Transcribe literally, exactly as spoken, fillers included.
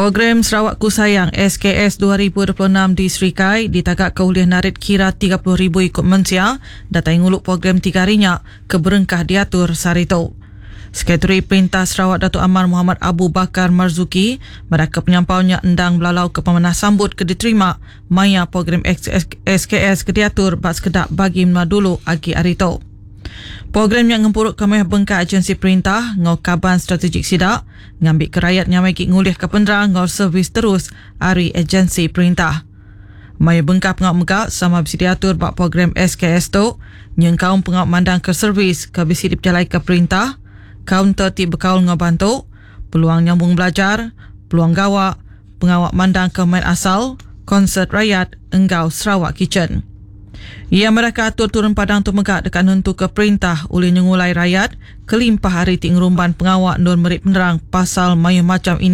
Program Sarawakku Sayang S K S dua ribu dua puluh enam di Serikai ditagaka ulih narit kira tiga puluh ribu ikut mensia datai ngulu program tiga hari nya ke berengkah diatur sehari tu. Sekretari Perintah Sarawak Datuk Amar Muhammad Abu Bakar Marzuki meraka penyampaunya endang belalau ke pemanah sambut ke diterima maya program S K S ke diatur bak sekedak bagi menua dulu agi hari tu. Program yang ngempuruk kemeh bengkak agensi perintah ngau kaban strategik sidak ngambil ke rakyat nyamai ki ngulih ke penerang ngau servis terus ari agensi perintah. Maya bengkak pengak mega sama bisi diatur bak program S K S tu nyengkaum pengak mandang ke servis ke bisi diperjalai ke perintah, kaunter ti berkaul ngau bantu, peluang nyambung belajar, peluang gawak, pengawak mandang ke main asal, konsert rakyat, enggau Sarawak Kitchen. Ia mereka atur turun padang tu megak dekat nentu ke perintah oleh nyengulai rakyat kelimpah hari ti ngerumban pengawak nur merik penerang pasal mayu macam ini.